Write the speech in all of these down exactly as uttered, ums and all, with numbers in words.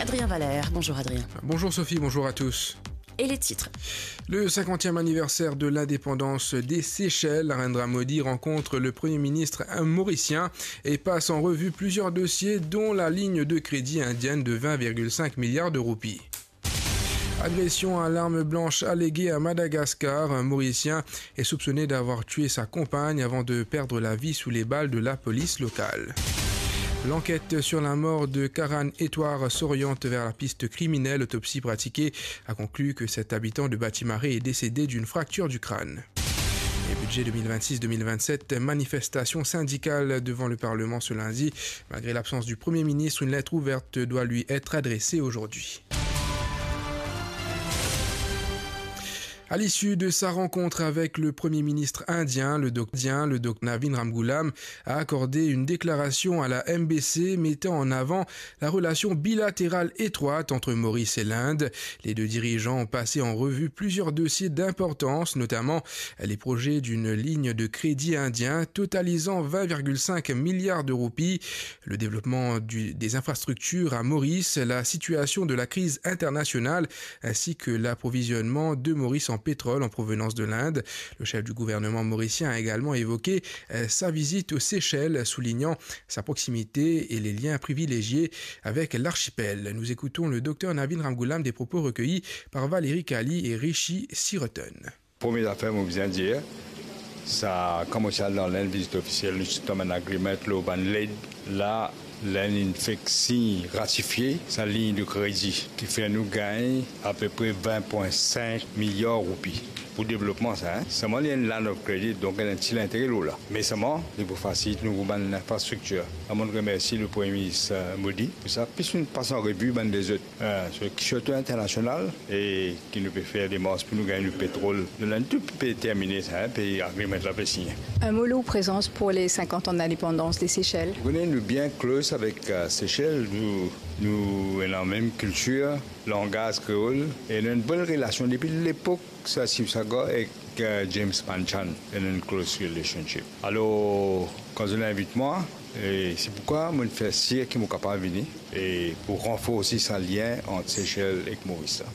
Adrien Valère. Bonjour Adrien. Bonjour Sophie, bonjour à tous. Et les titres. Le cinquantième anniversaire de l'indépendance des Seychelles, Narendra Modi rencontre le Premier ministre mauricien et passe en revue plusieurs dossiers, dont la ligne de crédit indienne de vingt virgule cinq milliards de roupies. Agression à l'arme blanche alléguée à Madagascar. Un Mauricien est soupçonné d'avoir tué sa compagne avant de perdre la vie sous les balles de la police locale. L'enquête sur la mort de Karan Etwar s'oriente vers la piste criminelle. L'autopsie pratiquée a conclu que cet habitant de Batimaré est décédé d'une fracture du crâne. Et budget deux mille vingt-six deux mille vingt-sept, manifestation syndicale devant le Parlement ce lundi. Malgré l'absence du Premier ministre, une lettre ouverte doit lui être adressée aujourd'hui. À l'issue de sa rencontre avec le Premier ministre indien, le doc-, indien, le docteur Navin Ramgoolam a accordé une déclaration à la M B C mettant en avant la relation bilatérale étroite entre Maurice et l'Inde. Les deux dirigeants ont passé en revue plusieurs dossiers d'importance, notamment les projets d'une ligne de crédit indien totalisant vingt virgule cinq milliards de roupies, le développement du, des infrastructures à Maurice, la situation de la crise internationale, ainsi que l'approvisionnement de Maurice en pétrole en provenance de l'Inde. Le chef du gouvernement mauricien a également évoqué, euh, sa visite aux Seychelles, soulignant sa proximité et les liens privilégiés avec l'archipel. Nous écoutons le docteur Navin Ramgoolam, des propos recueillis par Valérie Kali et Rishi Siroton. Premie zafer mo bizin dir, sa koumans al dan Linn vizit ofisiel, nou ti tonm enn agreement lor bann led la, Linn inn fek sign, ratifie sa lign de kredi ki fer nou gagn apepre vin pwin sink miliar roupi pou devlopman sa, hein. Selman li enn line of credit, donk enn ti lintere lor la. Me selman li pou fasilit nou pou bann infrastriktir. Mo remersi le Premie Minis, euh, Modi pou sa. Plis nou pas an revi bann lezot, euh, sirtou internasional, e ki nou pe fer demars pou nou gagn nou petrol. Nou la tou pe termine sa, hein, pe agreement la pe signe. Un mot lor prezans pour les cinquante ans d'indépendance des Seychelles. Ou kone nou bien close avek, euh, Seychelles, nou, nou ena mem kiltir, langaz kreol, e nou ena enn bonn relasion depi lepok Sir Sivasagar ek, euh, James Panchal, ena enn close relationship. Alor, kan zot inn invit mwa, e se poukwa mo fer sir ki mo kapav vini, e pou ranforsi sa lien ant Seychelles ek Moris la.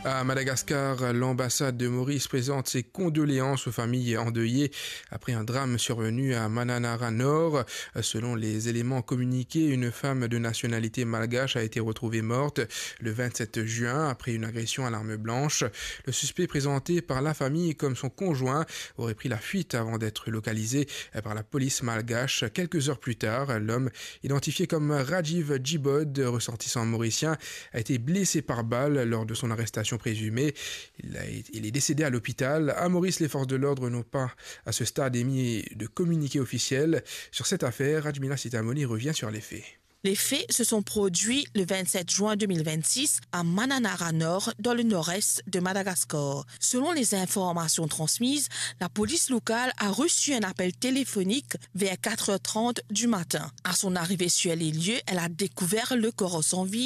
À Madagascar, l'ambassade de Maurice présente ses condoléances aux familles endeuillées après un drame survenu à Mananara Nord. Selon les éléments communiqués, une femme de nationalité malgache a été retrouvée morte le vingt-sept juin après une agression à l'arme blanche. Le suspect, présenté par la famille comme son conjoint, aurait pris la fuite avant d'être localisé par la police malgache. Quelques heures plus tard, l'homme, identifié comme Rajiv Jibod, ressortissant mauricien, a été blessé par balle lors de son arrestation présumée. Il a, il est décédé à l'hôpital. À Maurice, les forces de l'ordre n'ont pas, à ce stade, émis de communiqué officiel sur cette affaire. Rajmila Sitamouni revient sur les faits. Les faits se sont produits le vingt-sept juin deux mille vingt-six à Mananara Nord, dans le nord-est de Madagascar. Selon les informations transmises, la police locale a reçu un appel téléphonique vers quatre heures trente du matin. À son arrivée sur les lieux, elle a découvert le corps sans vie